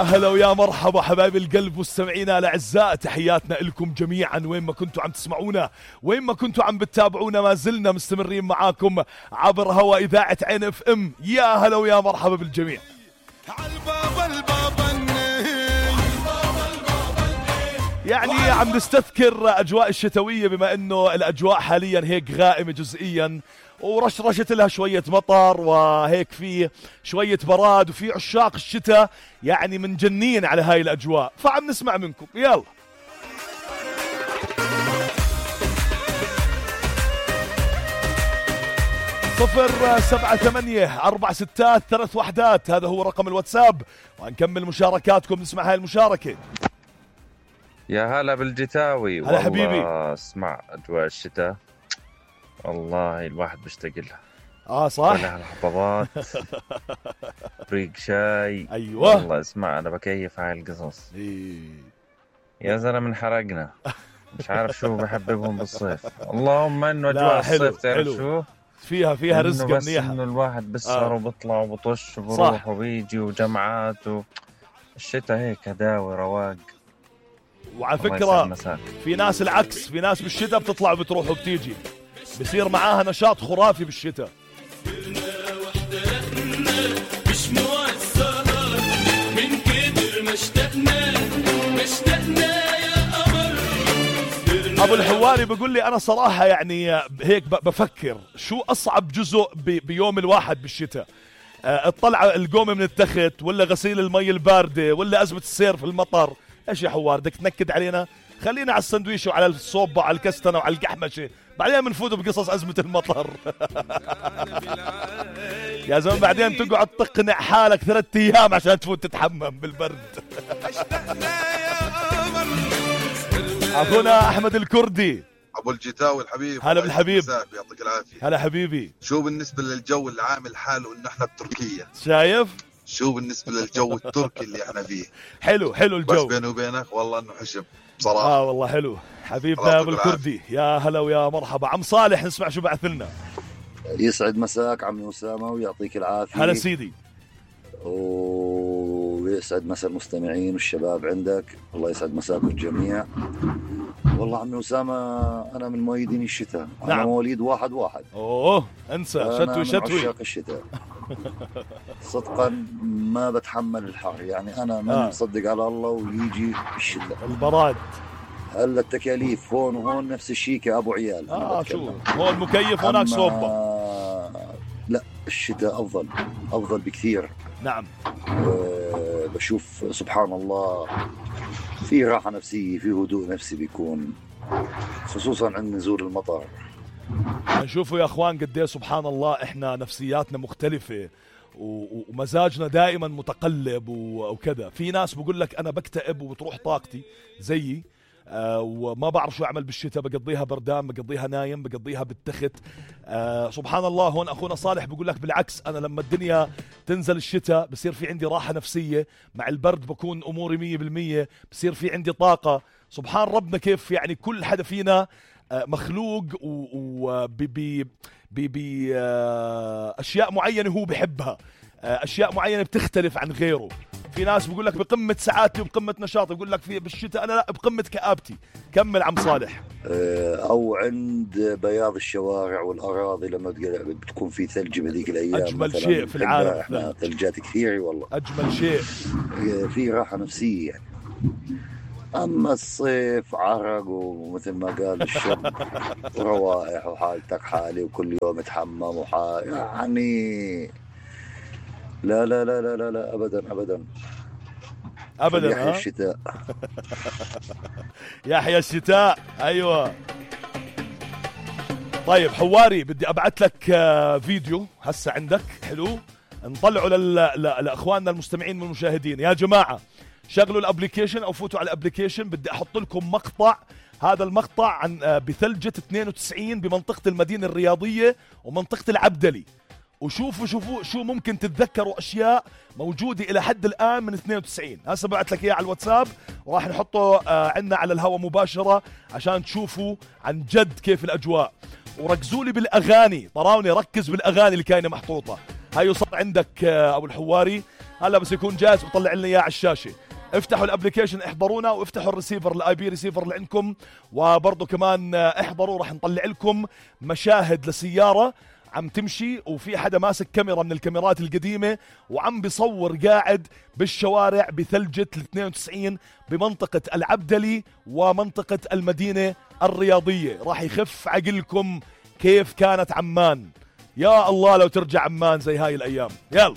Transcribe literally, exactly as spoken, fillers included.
أهلا ويا مرحبا حبايب القلب مستمعينا الأعزاء، تحياتنا لكم جميعا وين ما كنتوا عم تسمعونا، وين ما كنتوا عم بتتابعونا، ما زلنا مستمرين معاكم عبر هوا إذاعة عين اف ام. يا هلا ويا مرحبا بالجميع. يعني عم نستذكر أجواء الشتوية بما أنه الأجواء حاليا هيك غائمة جزئيا، ورشرشت لها شوية مطر وهيك في شوية براد، وفي عشاق الشتاء يعني منجنين على هاي الأجواء، فعم نسمع منكم. يلا صفر سبعة ثمانية أربع ستات ثلاث وحدات، هذا هو رقم الواتساب، وهنكمل مشاركاتكم. نسمع هاي المشاركة. يا هلا بالجتاوي. هلا حبيبي. اسمع أجواء الشتاء والله الواحد بيشتاق لها. اه صح. طلع الحفاضات بريق شاي. ايوه والله اسمع انا بكيف هاي القصص. إيه. يا زلمه انحرقنا، مش عارف شو بحببهم بالصيف. اللهم انه اجواء حلو الصيف تعرف حلو. شو فيها فيها رزق بس منيحة. انه الواحد بسهر آه. وبطلع وبطش وبروح وبيجي وجمعات و... الشتاء هيك هداوي رواق. وعلى فكرة في ناس العكس، في ناس بالشتاء بتطلع وبتروح وبتيجي، بصير معاها نشاط خرافي بالشتاء. مش موسر من كتر ما اشتقنا ما اشتقنا يا قمر. ابو الحواري بيقول لي انا صراحة يعني هيك بفكر شو اصعب جزء بيوم الواحد بالشتاء، الطلعة القومة من التخت، ولا غسيل المي الباردة، ولا أزمة السير في المطر؟ ايش يا حوار بدك تنكد علينا؟ خلينا على السندويش وعلى الصوب وعلى الكستنة وعلى القحمشة، بعدين بنفوت بقصص أزمة المطر. يا زلمة بعدين تقعد تقنع حالك ثلاث أيام عشان تفوت تتحمم بالبرد. أخونا أحمد الكردي ابو الجتاوي الحبيب. هلا بالحبيب. يعطيك العافيه. هلا حبيبي. شو بالنسبه للجو اللي عامل حاله انه احنا بتركيا؟ شايف شو بالنسبه للجو التركي اللي احنا فيه؟ حلو حلو الجو، بس بيني وبينك والله انه حشم بصراحه. اه والله حلو حبيبنا ابو الكردي. يا هلا ويا مرحبا. عم صالح نسمع شو بعث لنا. يسعد مساك عمي أسامة ويعطيك العافيه. هلا سيدي. ويسعد مساء المستمعين والشباب عندك، الله يسعد مساكم الجميع. والله عمي أسامة أنا من مؤيدين الشتاء. نعم. أنا مواليد واحد واحد. أوه انسى شتوي شتوي. عشاق الشتاء صدقا ما بتحمل الحر، يعني أنا من آه. مصدق على الله ويجي الشتاء البراد. هلا التكاليف هون وهون نفس الشيء كأبو عيال. اه شو هون مكيف هناك صوبة. لا الشتاء أفضل أفضل بكثير. نعم. أه بشوف سبحان الله في راحة نفسية، في هدوء نفسي بيكون، خصوصا عند نزول المطر. نشوفوا يا اخوان قد ايه سبحان الله احنا نفسياتنا مختلفة ومزاجنا دائما متقلب وكذا. في ناس بقول لك انا بكتئب وبتروح طاقتي زيي، آه وما بعرف شو اعمل بالشتاء، بقضيها بردان، بقضيها نايم، بقضيها بالتخت. آه سبحان الله. هون اخونا صالح بقول لك بالعكس، انا لما الدنيا تنزل الشتاء بصير في عندي راحة نفسية، مع البرد بكون اموري مية بالمية، بصير في عندي طاقة. سبحان ربنا كيف يعني كل حدا فينا آه مخلوق بأشياء معينة هو بحبها، آه اشياء معينة بتختلف عن غيره. في ناس بيقول لك بقمة سعادتي وبقمة نشاطي، بيقول لك في بالشتاء أنا لا بقمة كآبتي. كمل عم صالح. أو عند بياض الشوارع والأراضي لما بتكون في ثلج بهذيك الأيام، أجمل شيء في العالم. احنا ثلجات كثيرة والله، أجمل شيء، في راحة نفسية يعني. أما الصيف عرق ومثل ما قال الشب روائح وحالتك حالي وكل يوم تحمم وحال يعني لا لا لا لا لا, لا أبدا أبدا أبدا. يحيى الشتاء. يحيى الشتاء. أيوة. طيب حواري بدي أبعت لك فيديو هسه عندك حلو نطلعه لل... لأخواننا المستمعين والمشاهدين. يا جماعة شغلوا الابليكيشن او فوتوا على الابليكيشن، بدي احط لكم مقطع. هذا المقطع عن بثلجة اثنين وتسعين بمنطقة المدينة الرياضية ومنطقة العبدلي، وشوفوا شوفوا شو ممكن تتذكروا اشياء موجودة الى حد الان من اثنين وتسعين. هسه بعت لك اياه على الواتساب وراح نحطه عندنا على الهواء مباشرة عشان تشوفوا عن جد كيف الاجواء. وركزوا لي بالاغاني، طراوني ركز بالاغاني اللي كاينة محطوطة. هاي صار عندك ابو الحواري هلا بس يكون جاهز وطلع لنا اياه على الشاشه. افتحوا الابلكيشن احضرونا، وافتحوا الريسيفر الاي بي ريسيفر اللي عندكم، وبرضه كمان احضروا راح نطلع لكم مشاهد لسياره عم تمشي وفي حدا ماسك كاميرا من الكاميرات القديمة وعم بيصور قاعد بالشوارع بثلجة الاثنين وتسعين بمنطقة العبدلي ومنطقة المدينة الرياضية. راح يخف عقلكم كيف كانت عمان. يا الله لو ترجع عمان زي هاي الأيام. يلا